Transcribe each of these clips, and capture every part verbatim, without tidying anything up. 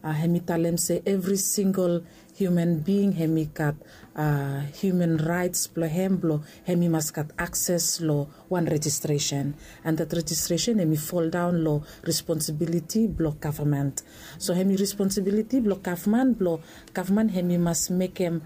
Hemi talem se evri singel hiuman bing hemi gat hiuman raets blong hem blong hemi mas gat akses long wan rejistresen. And dat rejistresen hemi foldaon long responsibiliti blong gavman. So hemi responsibiliti blong gavman blong gavman hemi mas mekem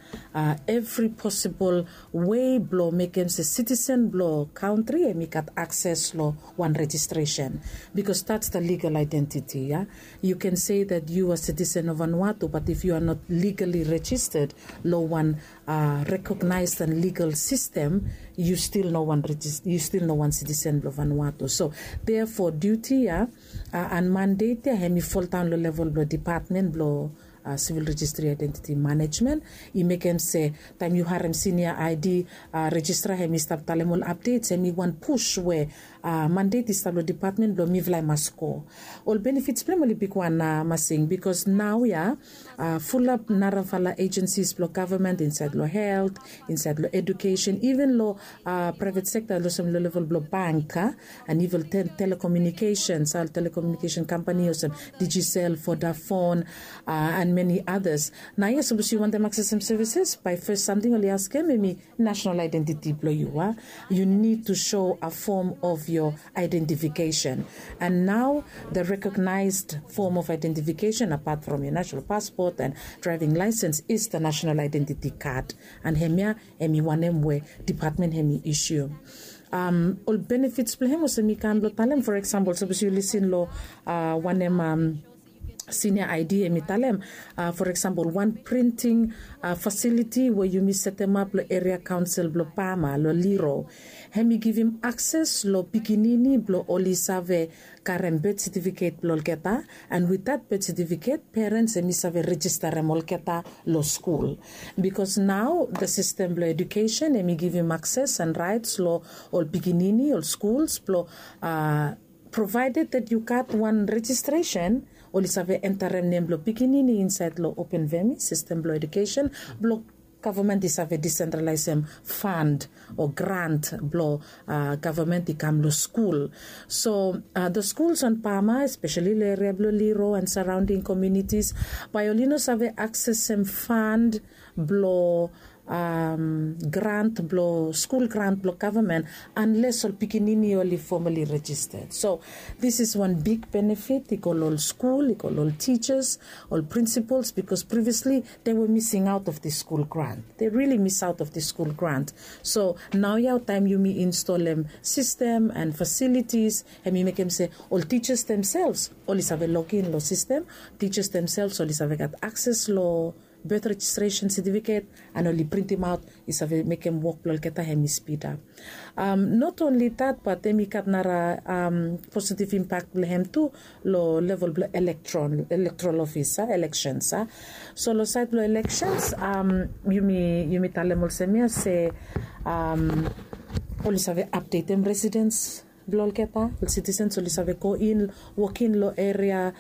evri posibol wei blong mekem se sitisen blong kantri hemi gat akses long wan rejistresen. Bikos dats da ligal aedentiti ya. You can say that you a sitisen of vanuatu bat if you a not ligali rejistad long wan rekognaes dan ligal sistem, you stil no wan sitisen blong vanuatu. So therefore duti ya an mandet ya hemi foldaon long level blong dipatmen blong sivil rejistri aedentiti manejmen. I mekem se taem yu harem sinia id rejistra hemi stap talem ol apdets hemi wan pus we mandet i stap long dipatmen blong mifala i mas go. Ol benefits blong hem oli bigwan masing bikos nao ya fulap narafala ejensis blong gavman insaed long helt, insaed long edukesen, iven long praevet sekta olsem long level blong bank an iven telekomunikesen, telekomunikesen kampani olsem Digicel, Vodafone, an meni adas. Naoia sapos yu wantem aksesem sevises bae fes samting oli askem hemi nasenal aedentiti blong yu a. Yu nid tu so a fom of yo aedentifikesen. An nao da rekognaesd fom of aedentifikesen apat from yo nasenal paspot an draeving laesens is da nasenal aedentiti kad. An hemia hemi wanem we dipatmen hemi isium. Ol benefits blong hem olsem mi kam blong talem for eksambol sapos yu lisin long wanem sinia id hemi talem for eksambol wan printing fasiliti we yumi setemap long eria kaonsel blong pama long liro. Hemi givim akses long pikinini blong oli save karem bet setifiket blong olgeta. An wit dat bet setifiket perens hemi save rejistarem olgeta long skul. Bikos nao da sistem blong edukesen hemi givim akses an raets long ol pikinini ol skuls blong provaeded dat yu gat wan rejistresen, oli save entarem nem blong pikinini insaed long open vemi sistem blong edukesen blong gavman i save disentralaesem fand o grant blong gavman i kam long skul. So da skuls on pama espeseli long eria blong liro an saraonding komunitis bae oli no save aksesem fand blong grant blong skul grant blong gavman anles ol pikinini oli fomali rejistad. So dis is wan big benefit i go long ol skul, i go long ol tijas, ol prinsipols bikos priviasli de we mising aot of dis skul grant. De rili mis aot of dis skul grant. So naoia taem yumi instolem sistem an fasilitis, hemi mekem se ol tijas demsels oli save login long sistem, tijas demsels oli save gat akses long bet rejistresen setifiket an oli printimaot i save mekem wok blong olgeta hemi spidap. Not onli dat bat hemi gat nara positiv impak blong hem tu long level blong elektron elektoral ofis a eleksens a. So long saed blong eleksens yumi talem olsem ya se oli save apdetem residens blong olgeta ol sitisens oli save go in, wokin long eria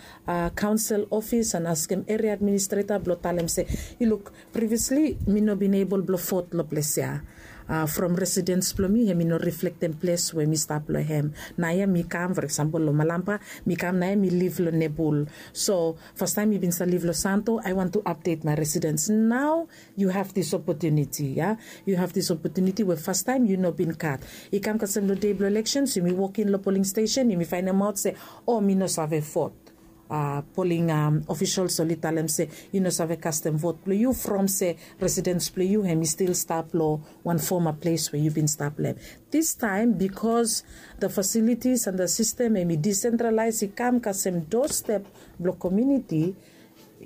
kaonsel ofis an askem eria administreta blong talem se, yu luk, priviasli mi no bin ebol blong vot long ples ya. From residens blong mi hem i no riflektem ples we mi stap long hem. Naoia mi kam for eksambol long malampa, mi kam naoia mi liv long nebul. So fastaem mi bin save liv long santo, i want tu apdet mai residens. Nao yu have dis opotuniti ya. Yu have dis opotuniti we fastaem yu no bin gat. I kam kasem long dei blong eleksens yumi wokin long poling stesen yumi faenemaot se, o mi no save vot. Poling ofisels oli talem se yu no save kastem vot blong yu from se residens blong yu hem i stil stap long wan foma ples we yu bin stap long hem. Distaem bikos da fasilitis an da sistem hem i disentralaes i kam kasem dostep blong komiuniti,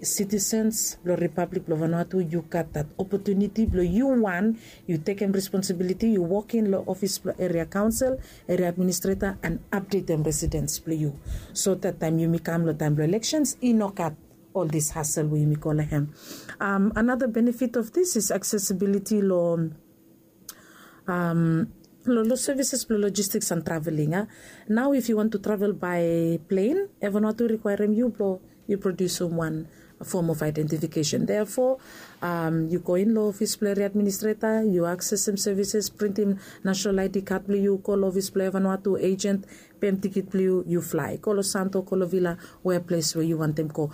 sitisens blong ripablik blong vanuatu yu gat dat opotuniti blong yu wan yu tekem responsibiliti yu wokin long ofis blong eria kaonsel, eria administreta an apdetem residens blong yu. So dat taem yumi kam long taem blong eleksens i no gat ol dis hasel we yumi go long hem. Anada benefit of dis is aksesibiliti long long servises blong lojistiks an traveling a. Nao if yu want tu travel bae plen, evan want tu rikwaerem yu blong yu produsim wan fom of aidentifikesen. Therefore, yu go in long ofis blong area administreta, yu aksesem sevises, printim national id kad blong yu, go long ofis blong evanua tu agent, pem tikit blong yu, yu flae go long santo, go long vila, we ples we yu wantem go.